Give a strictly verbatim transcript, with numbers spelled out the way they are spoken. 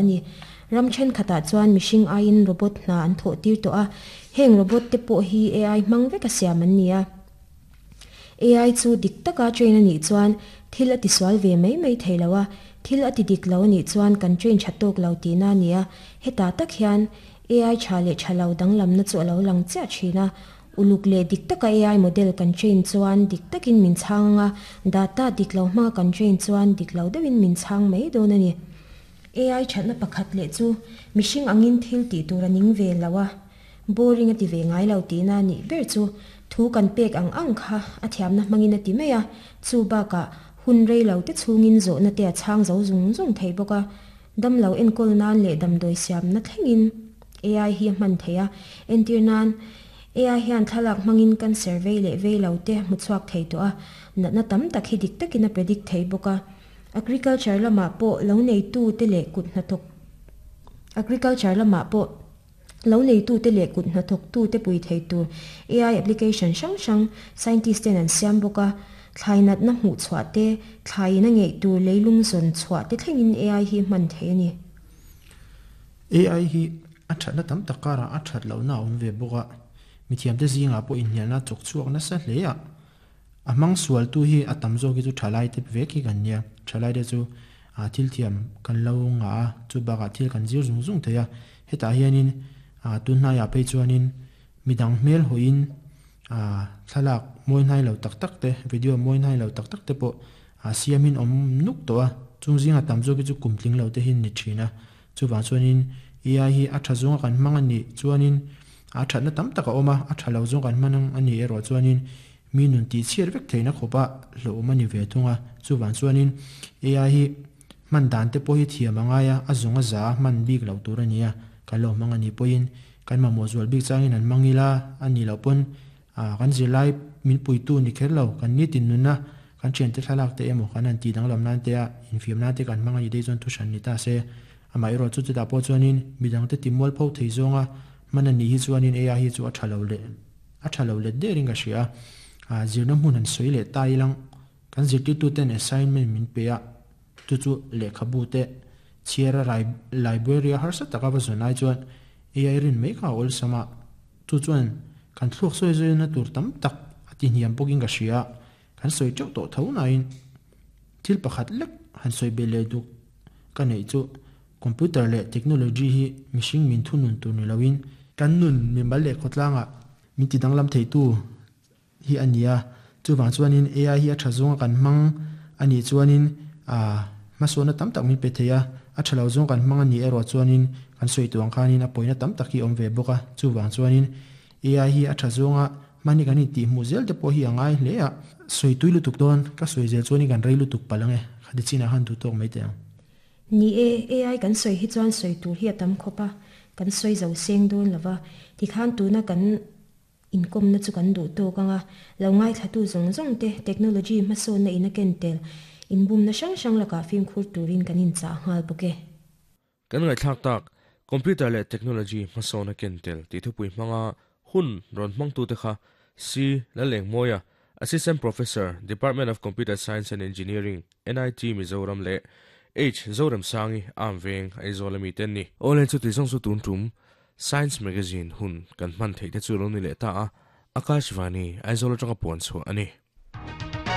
a ni. Ram thenkhatah chuan mihring aiin robot hna an thawh tir tawh a, heng robot te pawh hi A I hmang veka siam an ni a. A I chu dik taka train a nih chuan thil a tisual ve mai mai thei lo a, thil a ti dik lo a nih chuan kan train tha tawk lo tihna a ni a. Hetah tak hian A I tha leh tha lo danglamna chu a lo lang chiah thin a. Uluk leh dik taka A I model kan train chuan dik takin min chhang anga, data dik lo hmanga kan train chuan dik lo deuhin min chhang mai dawn a ni. A I thatna pakhat leh chu mihring angin thil tih tur a ning ve lo a, boring a ti ve ngai lo tihna a nih ber chu thu kan pek ang ang kha a thiamna hmangin a ti mai a, chu bakah hun rei lo te chhungin zawhna te a chhang zo zung zung thei bawk a. Dam lo enkawl nan leh damdawi siamna thlengin A I hi a hman thei a, entir nan A I hian thlalak hmangin kan survey leh vei lo te hmuchhuak thei tawh a, natna tam tak hi dik takin a predict thei bawk a. Agriculture lamah pawh lo neitu te leh kut hnathawk Agriculture lamah pawh lo neitu te leh kut hnathawk tu te pui thei tur A I application hrang hrang scientist ten an siam bawk a, thlai natna hmuh chhuah te, thlai in a ngeih tur leilung zawn chhuah te thlengin A I hi hman thei a ni. A I hi a thatna tam tak karah a that lohna a awm ve bawk a, mithiam te zingah pawh inhnialna chawk chhuak nasa hle a. A hmang sual tu hi a tam zawk hi chu thalai te vek hi kan nia, thalai te chu a thil thiam kan lo nga a, chu bakah thil kan zir zung zung thei a. Hetah hianin a tunhnaiah phei chuanin midang hmel hawiin a thlalak mawi hnai lo tak tak te, video mawi hnai lo tak tak te pawh a siamin awm nuk tawh a, chung zinga tam zawk hi chu kum tling lo te hi ni thin a. Chuwang chuanin A I hi a tha zawnga kan hmang a nih chuanin a thatna tam tak a awm a, a tha lo zawng kan hman a nih erawh chuanin mi nun tih chhiat vek theihna khawpa hlawhawm a ni ve thung a. Chuwang chuanin A I hi hman dan te pawh hi thiam a ngai a, a zawng a za hman bik lo tur a ni a, kan lo hmang a nih pawhin kan mamawh zual bik changin an hmang ila a nih loh pawn a kan zirlai min puitu ni kher lo, kan nitin nunna kan thian te thlalak te emaw kan han tih danglam nan te a infiam nan te kan hmang a nih dei chuan thu hran ni ta se. Amah erawh chu chutah pawh chuanin midang te timual pho thei zawnga hman a nih hi chuanin A I hi chu a tha lo leh a tha lo let derin ka hria a. A zirna hmun han sawi leh ta ilang kan zirtirtu ten assignment min pe a, chu chu lehkhabu te chhiara library a harsa taka va zawn ai chuan A I rin mai kha a awlsam a, chu chuan kan thluak sawi zawina tur tam tak a ti hniam bawkin ka hria a, kan sawi teuh tawh tho nain thil pakhat lek han sawi be leh duk ka nei chu computer leh technology hi mihring min thunun tur ni loin kan nun mimal leh khawtlangah min ti danglam thei tu hi a ni a. Chuwang chuanin A I hi a tha zawnga kan hmang a nih chuanin a hmasawna tam tak min pe thei a, a tha lo zawng kan hmang a nih erawh chuanin kan sawi tuang khanin a pawina tam tak hi awm ve bawk a. Chuwang chuanin A I hi a tha zawnga hmani kan in tih hmuh zel te pawh hi a ngai hle a, sawi tui lutuk dawn ka sawi zel chuanin kan rei lutuk palang e, khati chinah han du tawk mai te ang. Ni e, A I kan sawi hi chuan sawi tur hi a tam khawp a, kan sawi zo seng dawn lova, tikhan tuna kan inkom na chu kan duh tawk anga, lo ngai thlatu zawng zawng te technology hmasawnna in a ken tel inbum na hrang hrang lakah fimkhur turin kan in chah nghal bawk e. Kan ngai thlak tak computer leh technology hmasawna ken tel tih thupui hmanga hun rawn hmang tu te kha C Laleng Moya, Assistant Professor, Department of Computer Science and Engineering, N I T Mizoram leh H Zoram Sangi Amveng Aizawl ami ten ni. Ole chu ti zawng chu tun tum Science Magazine hun kan hman thei te chu lo ni leh ta a, Akashvani Aizawl atanga puan chu ani.